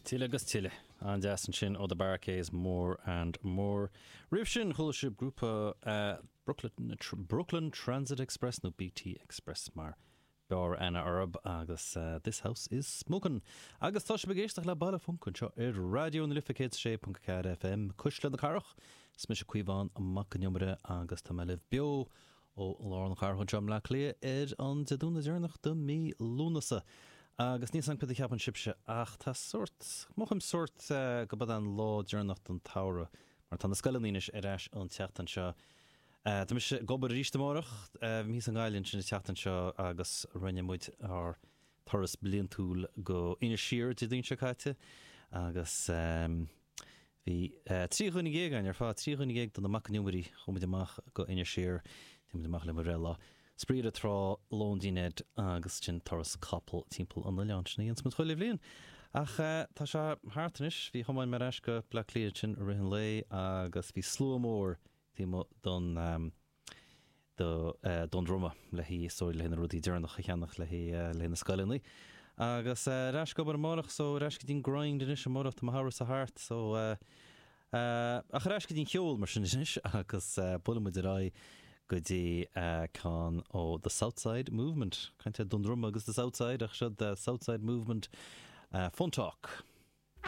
Tuilleadh agus tuilleadh. An-deas ansin ó The Bar-Kays, More and More. Roimh sin, chuala sibh grúpa Brooklyn, Brooklyn Transit Express, nó BT Express mar b'fhearr aithne orthu, agus This House Is Smokin'. Agus tá sibh ag éisteacht le Baile Func anseo ar Raidió na Life 106.4 FM, Cuisle na Cathrach. Is mise Caomhán Mac an Iomaire agus tá mé libh beo ó lár na cathrach anseo i mBleá Cliath ar an Dé Domhnaigh deireanach de mhí Lúnasa. Agus níl 's agam cad a cheapann sibhse ach tá sórt, mothaím sórt go b'é an lá deireanach den tsamhradh mar tá na scoileanna anois ar ais an tseachtain seo. Tá mise ag obair arís amárach, bhí mé thíos i nGaillimh ansin an tseachtain seo agus rinne muid ár turas bliantúil go Inis Oírr Dé Domhnaigh seo caite agus Bhí 13 dhuine againn ar fad, 13 dhuine de na Mac an Iomairí, chuaigh muid amach go Inis Oírr, d'imigh muid amach le mo bhreithlá, spraoi ar an trá, lón dinnéir agus ansin turas capall timpeall an oileáin. Sin a dhéanas muid chuile bhliain. Ach tá sé thart anois, bhí thiomáin mé ar ais go Bleá Cliath ansin i rith an lae agus bhí slua mór taobh amuigh don do Dún Droma le haghaidh is dóigh le haghaidh na rudaí deireanach a cheannach le haghaidh le haghaidh na scoileanna. Agus ar ais ag obair amárach so ar ais go dtí'n grind anois amárach tá mo shamhradh-sa thart so ach ar ais go dtí'n cheol mar sin anois agus buailfidh muid ar aghaidh go dtí ceann ó The Southside Movement. Caint ar Dún Droma agus The Southside ach seo The Southside Movement Fun Talk.